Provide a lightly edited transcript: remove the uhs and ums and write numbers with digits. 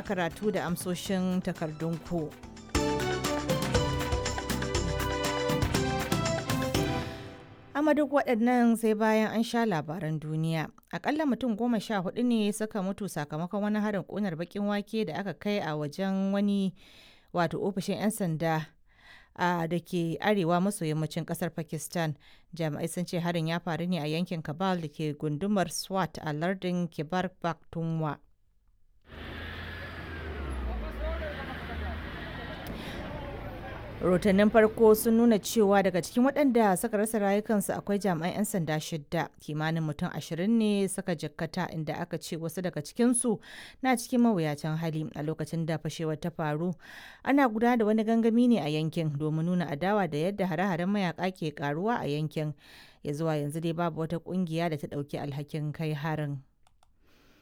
Karatu da amsoshin takardunku. Amma duk waɗannan sai bayan an sha labaran duniya. Akalla mutum 14 ne suka mutu sakamakon wani harin ƙunar baƙin wake da aka kai a wajen wani wato ofishin 'yan sanda a da ke arewa maso yammacin kasar Pakistan. Jami'ai sun ce harin ya faru ne a yankin Kabal da ke gundumar Swat a lardin Kibar Pakhtunkhwa. Rahotannin farko sun nuna cewa daga cikin waɗanda suka rasa rayukansu akwai jami'an 'yan sanda shidda, kimanin mutum 20 ne suka jikkata, inda aka ce wasu daga cikinsu na cikin mawuyacin hali. A lokacin da fashewar ta faru, ana gudanar da wani gangami ne a yankin domin nuna adawa da yadda hare-haren mayaka ke karuwa a yankin. Ya zuwa yanzu dai babu wata kungiya da ta ɗauki alhakin kai harin.